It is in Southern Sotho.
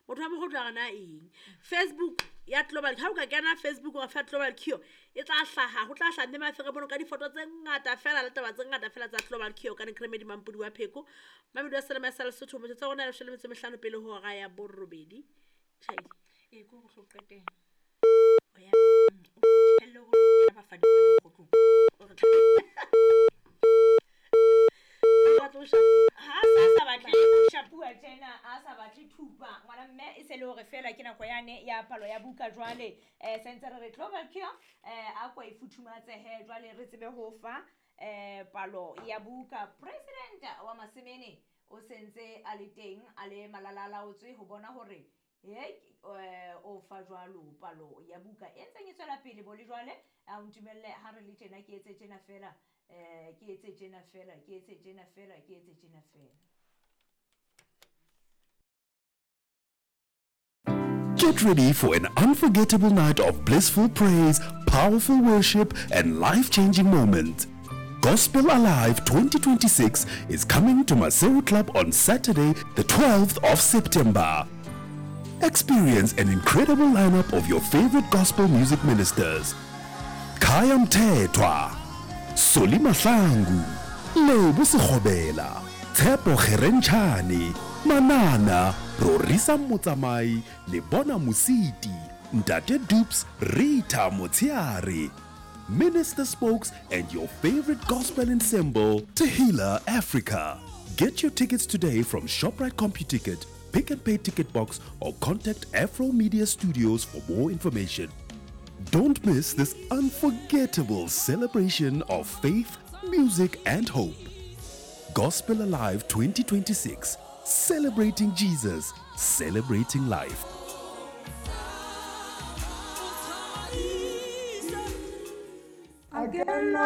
Motho wa mogotlo a rena eng. Facebook ya Global, ha o ka kena Facebook wa fa Global Cure, e tla hlaha, ho tla hlaha mme mafere mono ka difoto tse ngata fela le taba tse ngata fela tsa Global Cure ka Nekremedi Mampodi wa Pheko. Mamedi wa Selema sa Lesotho, metsotso ya rona ya leshome le metso e mehlano pele ho hora ya borobedi. Tjhaedi. Ee, ke hore o tlo qetela. O ya. O tlohelle hore o kena bafadi kwana mokgotlong. O re tla Ha sa batle ho shapuwa tjena, a sa batle thupa. Ngwana mme e se le hore fela ke nako yane ya palo ya buka jwale. Sentse re re Global Cure, a ko e futhumatsehe jwale re tsebe ho fa palo ya buka. President wa Masemene o sentse a le teng, a le malalalaotswe ho bona hore o fa jwalo palo ya buka e ntseng e tswela pele bo le jwale. A o ntumelle ha re le tjena, ke etse tjena fela, ke etse tjena fela, ke etse tjena fela, ke etse tjena fela. Get ready for an unforgettable night of blissful praise, powerful worship, and life-changing moments. Gospel Alive 2026 is coming to Maseru Club on Saturday, the 12th of September. Experience an incredible lineup of your favorite gospel music ministers. Khaya Mthethwa, Solly Mahlangu, Lebo Sekgobela, Tshepo Kgerentshane, Manana, Rorisa Motsamai, Lebona Mositi, Ntate Dupes, Rita Motsiare, Minister Spokes, and your favorite gospel ensemble, Tehila Africa. Get your tickets today from ShopRite CompuTicket, Pick and Pay Ticket Box, or contact Afro Media Studios for more information. Don't miss this unforgettable celebration of faith, music, and hope. Gospel Alive 2026, celebrating Jesus, celebrating life. Again,